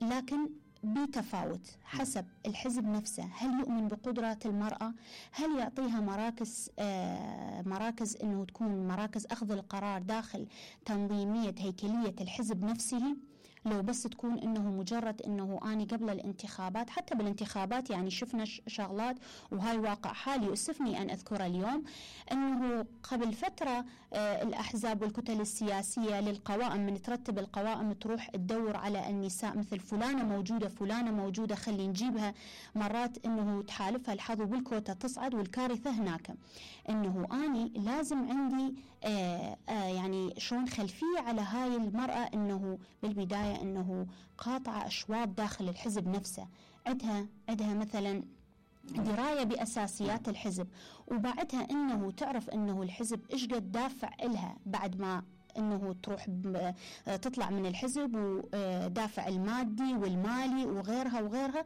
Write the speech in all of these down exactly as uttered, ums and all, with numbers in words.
لكن بتفاوت حسب الحزب نفسه. هل يؤمن بقدرات المرأة؟ هل يعطيها مراكز آه مراكز انه تكون مراكز اخذ القرار داخل تنظيمية هيكلية الحزب نفسه؟ لو بس تكون انه مجرد انه اني قبل الانتخابات، حتى بالانتخابات يعني شفنا شغلات، وهاي واقع حالي يؤسفني ان اذكره اليوم، انه قبل فترة آه الاحزاب والكتل السياسية للقوائم، من ترتب القوائم تروح تدور على النساء مثل فلانة موجودة فلانة موجودة خلي نجيبها، مرات انه تحالفها الحظ بالكوتا تصعد، والكارثة هناك انه اني لازم عندي آه آه يعني شلون خلفية على هاي المرأة، انه بالبداية انه قاطعة اشواط داخل الحزب نفسه، عندها عندها مثلا دراية بأساسيات الحزب، وبعدها انه تعرف انه الحزب ايش قد دافع إلها بعد ما انه تروح تطلع من الحزب، ودافع المادي والمالي وغيرها وغيرها.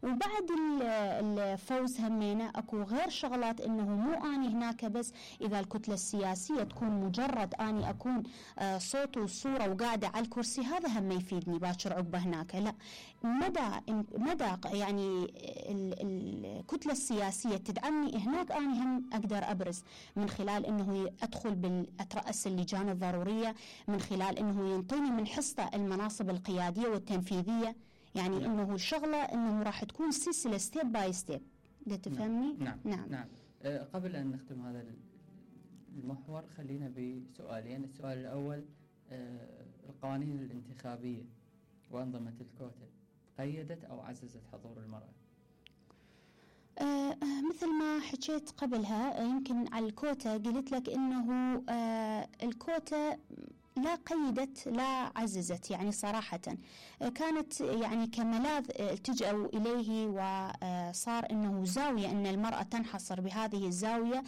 وبعد الفوز همينة اكو غير شغلات، انه مو اني هناك بس اذا الكتلة السياسية تكون مجرد اني اكون صوت وصورة وقاعدة على الكرسي، هذا هم ما يفيدني باكر عقبه هناك، لا، مدى مدى يعني الكتلة السياسية تدعمني هناك، اني هم اقدر ابرز من خلال انه ادخل بالاترأس اللجان الضرورية، من خلال انه ينطيني من حصة المناصب القيادية والتنفيذية، يعني نعم. انه الشغله انه راح تكون سلسله ستيب باي ستيب. ده تفهمني؟ نعم نعم, نعم. أه قبل ان نختم هذا المحور خلينا بسؤالين. السؤال الاول، أه القوانين الانتخابيه وانظمه الكوتا قيدت او عززت حضور المراه؟ آه مثل ما حكيت قبلها، يمكن على الكوتا قلت لك انه آه الكوتا لا قيدت لا عززت، يعني صراحة كانت يعني كملاذ التجأوا إليه، وصار أنه زاوية أن المرأة تنحصر بهذه الزاوية،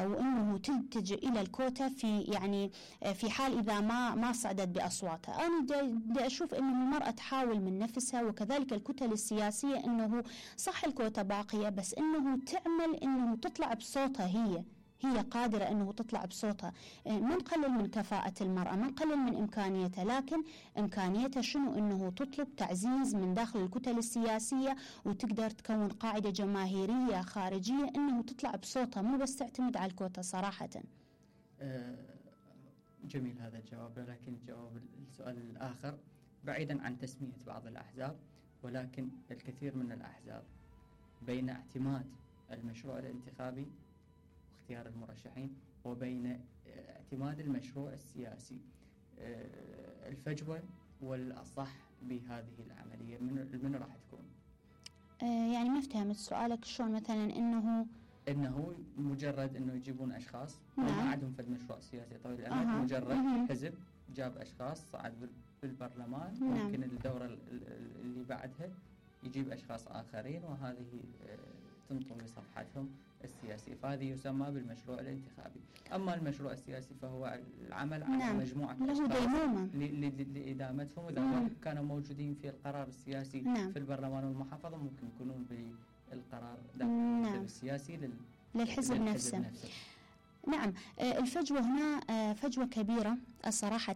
وأنه تلتجئ إلى الكوتا في يعني في حال إذا ما ما صعدت بأصواتها. أنا دا أشوف أنه المرأة تحاول من نفسها، وكذلك الكتل السياسية، أنه صح الكوتا باقية، بس أنه تعمل أنه تطلع بصوتها، هي هي قادرة أنه تطلع بصوتها. ما نقلل من كفاءة المرأة، ما نقلل من إمكانيتها، لكن إمكانيتها شنو؟ أنه تطلب تعزيز من داخل الكتل السياسية، وتقدر تكون قاعدة جماهيرية خارجية أنه تطلع بصوتها، مو بس تعتمد على الكوتا صراحة. أه جميل هذا الجواب، لكن جواب السؤال الآخر بعيدا عن تسمية بعض الأحزاب، ولكن الكثير من الأحزاب بين اعتماد المشروع الانتخابي اختيار المرشحين وبين اعتماد المشروع السياسي، الفجوة والأصح بهذه العملية من من راح تكون؟ آه يعني ما افتهمت سؤالك. شلون مثلا انه انه مجرد انه يجيبون اشخاص نعم. ما عندهم فد مشروع سياسي طويل الامد، أه. مجرد مه. حزب جاب اشخاص صعد بالبرلمان، نعم. ممكن الدورة اللي بعدها يجيب اشخاص اخرين، وهذه تنطوي صفحتهم السياسية، فهذه يسمى بالمشروع الانتخابي. أما المشروع السياسي فهو العمل على نعم. مجموعة أشخاص لإدامتهم، إذا كانوا موجودين في القرار السياسي نعم. في البرلمان والمحافظة ممكن يكونون بالقرار داخل نعم. الحزب السياسي لل... للحزب, للحزب نفسه. نفسه. نعم، الفجوة هنا فجوة كبيرة صراحة،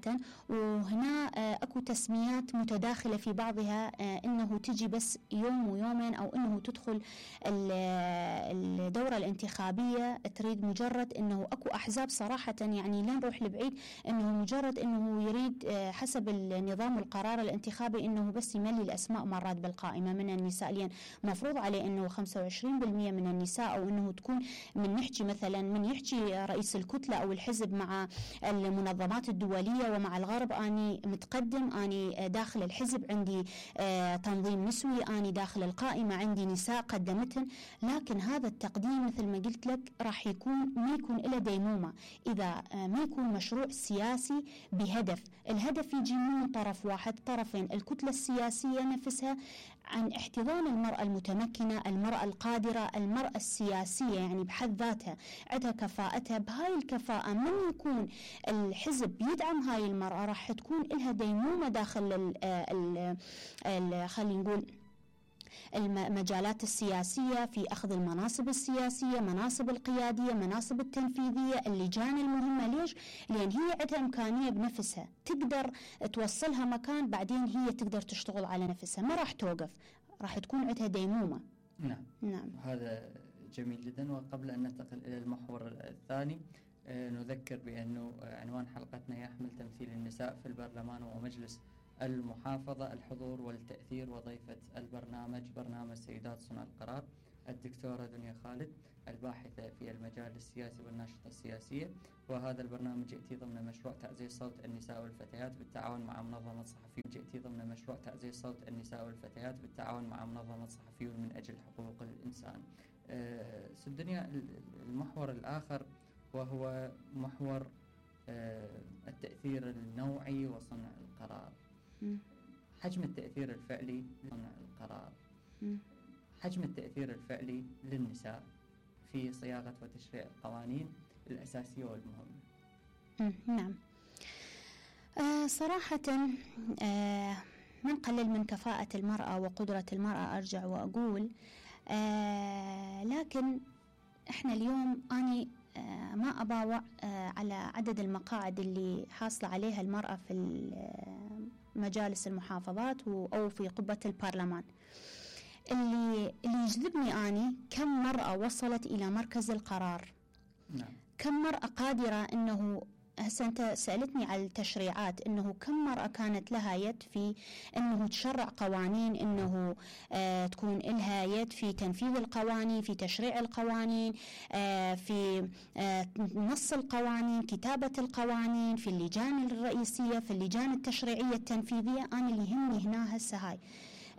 وهنا أكو تسميات متداخلة في بعضها، إنه تجي بس يوم ويومين، أو إنه تدخل الدورة الانتخابية تريد مجرد إنه أكو أحزاب صراحة، يعني لا نروح لبعيد، إنه مجرد إنه يريد حسب النظام القرار الانتخابي إنه بس يملي الأسماء مرات بالقائمة من النساء، لأن مفروض عليه إنه خمسة وعشرين بالمئة من النساء، أو إنه تكون من نحكي مثلا من يحكي رئيس الكتلة أو الحزب مع المنظمات الدولية ومع الغرب، أني متقدم، أني داخل الحزب عندي تنظيم نسوي، أني داخل القائمة عندي نساء قدمتهن، لكن هذا التقديم مثل ما قلت لك راح يكون ما يكون إلى ديمومة إذا ما يكون مشروع سياسي بهدف. الهدف يجي من طرف واحد، طرفين، الكتلة السياسية نفسها، عن احتضان المرأة المتمكنة، المرأة القادرة، المرأة السياسية، يعني بحد ذاتها عندها كفاءتها. بهاي الكفاءة من يكون الحزب يدعم هاي المرأة راح تكون لها ديمومة داخل ال ال ال خلينا نقول المجالات السياسية، في أخذ المناصب السياسية، مناصب القيادية، مناصب التنفيذية، اللجان المهمة. ليش؟ لأن هي عندها إمكانية بنفسها تقدر توصلها مكان، بعدين هي تقدر تشتغل على نفسها، ما راح توقف، راح تكون عندها ديمومة. نعم نعم هذا جميل جدا. وقبل أن ننتقل إلى المحور الثاني آه نذكر بأنه عنوان حلقتنا يحمل تمثيل النساء في البرلمان ومجلس المحافظة، الحضور والتأثير. وضيفة البرنامج برنامج سيدات صنع القرار الدكتورة دنيا خالد، الباحثة في المجال السياسي والناشطة السياسية. وهذا البرنامج يأتي ضمن مشروع تعزيز صوت النساء والفتيات بالتعاون مع منظمة صحفيون يأتي ضمن مشروع تعزيز صوت النساء والفتيات بالتعاون مع منظمة صحفيون من أجل حقوق الإنسان. أه ست دنيا، المحور الآخر وهو محور أه التأثير النوعي وصنع القرار. م. حجم التأثير الفعلي لصنع القرار. م. حجم التأثير الفعلي للنساء في صياغة وتشريع القوانين الأساسية والمهمة. نعم آه صراحة آه من قلل من كفاءة المرأة وقدرة المرأة، أرجع وأقول آه لكن إحنا اليوم أنا آه ما أباوع آه على عدد المقاعد اللي حاصلة عليها المرأة في مجالس المحافظات أو في قبة البرلمان. اللي اللي يجذبني أني كم مرأة وصلت إلى مركز القرار. نعم. كم مرأة قادرة أنه هسه أنت سألتني على التشريعات، أنه كم مرأة كانت لها يد في أنه تشرع قوانين، أنه آه تكون لها يد في تنفيذ القوانين، في تشريع القوانين، آه في آه نص القوانين، كتابة القوانين، في اللجان الرئيسية، في اللجان التشريعية التنفيذية. أنا اللي يهمني هنا هسه هاي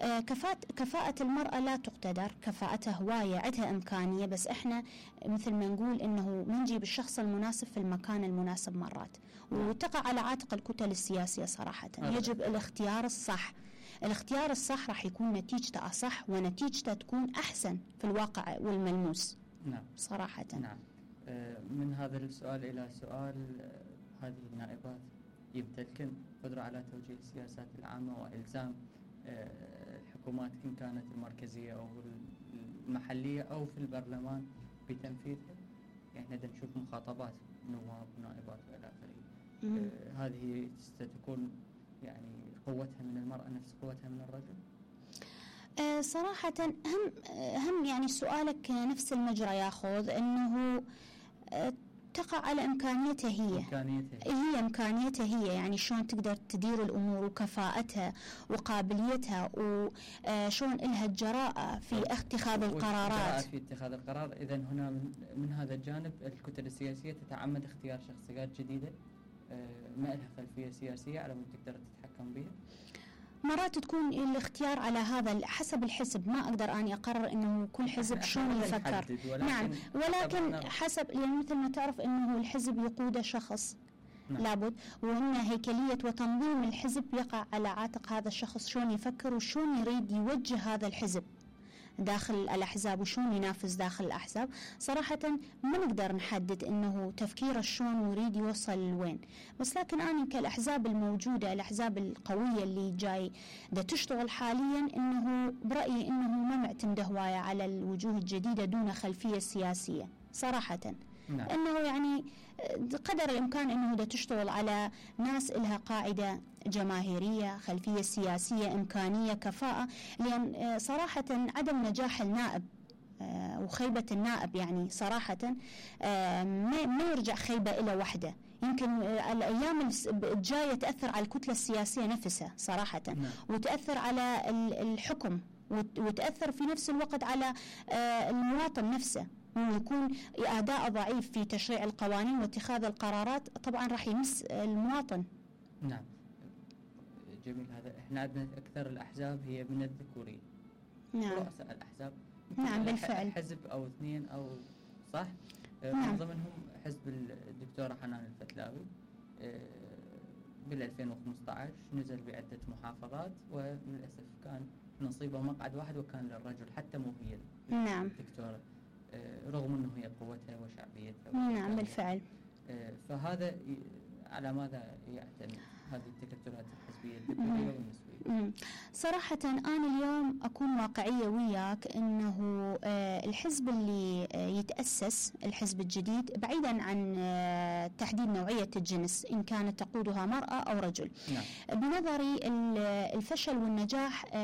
آه كفاءة كفاءة المرأة لا تقتدر، كفاءتها هواية، عندها إمكانية، بس إحنا مثل ما نقول إنه ما نجيب الشخص المناسب في المكان المناسب مرات، وتقع على عاتق الكتل السياسية صراحة. يجب الاختيار الصح. الاختيار الصح راح يكون نتيجته أصح ونتيجته تكون أحسن في الواقع والملموس. نعم صراحة. نعم. آه من هذا السؤال إلى سؤال، آه هذه النائبات يمتلكن قدرة على توجيه السياسات العامة وإلزام آه الحكومات إن كانت المركزية أو المحلية أو في البرلمان بتنفيذها؟ يعني احنا نشوف مخاطبات نواب ونائبات وإلى آخره. آه هذه ستكون يعني قوتها من المرأة نفس قوتها من الرجل؟ آه صراحة هم هم يعني سؤالك نفس المجرى ياخذ، إنه آه تقع على إمكانيتها هي. إمكانيتها هي. هي إمكانيتها هي، يعني شلون تقدر تدير الأمور وكفاءتها وقابليتها وشلون إلها الجراءة في اتخاذ القرارات. في اتخاذ القرار. إذا هنا من, من هذا الجانب الكتل السياسية تتعمد اختيار شخصيات جديدة ما لها خلفية سياسية على مود تقدر تتحكم بها. مرات تكون الاختيار على هذا حسب الحزب، ما أقدر أني أقرر إنه كل حزب شلون يفكر. نعم، ولكن حسب يعني مثل ما تعرف إنه الحزب يقود شخص. نعم. لابد، وإن هيكلية وتنظيم الحزب يقع على عاتق هذا الشخص، شلون يفكر وشلون يريد يوجه هذا الحزب داخل الأحزاب وشون ينافس داخل الأحزاب. صراحة ما نقدر نحدد إنه تفكيره شلون يريد يوصل لوين، بس لكن أنا كالأحزاب الموجودة، الأحزاب القوية اللي جاي دا تشتغل حاليا، إنه برأيي إنه ما معتمدة هواية على الوجوه الجديدة دون خلفية سياسية صراحة. نعم. إنه يعني قدر الإمكان إنه دا تشتغل على ناس إلها قاعدة جماهيرية، خلفية سياسية، إمكانية، كفاءة. لأن صراحة عدم نجاح النائب وخيبة النائب يعني صراحة ما يرجع خيبة إلى وحدة، يمكن الأيام الجاية تأثر على الكتلة السياسية نفسها صراحة. نعم. وتأثر على الحكم، وتأثر في نفس الوقت على المواطن نفسه، ويكون أداء ضعيف في تشريع القوانين واتخاذ القرارات، طبعا راح يمس المواطن. نعم جميل. هذا احنا عندنا أكثر الأحزاب هي من الذكورية. نعم. رؤساء الأحزاب نعم بالفعل حزب أو اثنين أو صح. نعم. من ضمنهم حزب الدكتورة حنان الفتلاوي بال ألفين وخمسة عشر نزل بعدة محافظات، وللأسف كان نصيبه مقعد واحد وكان للرجل، حتى مو هي نعم. الدكتورة، رغم أنه هي قوتها وشعبيتها. نعم بالفعل. فهذا على ماذا يعتمد هذه التكتلات الحزبية الذكورية والنسوية؟ صراحة أنا اليوم أكون واقعية وياك، أنه الحزب اللي يتأسس، الحزب الجديد، بعيدا عن تحديد نوعية الجنس إن كانت تقودها مرأة أو رجل. نعم. بنظري الفشل والنجاح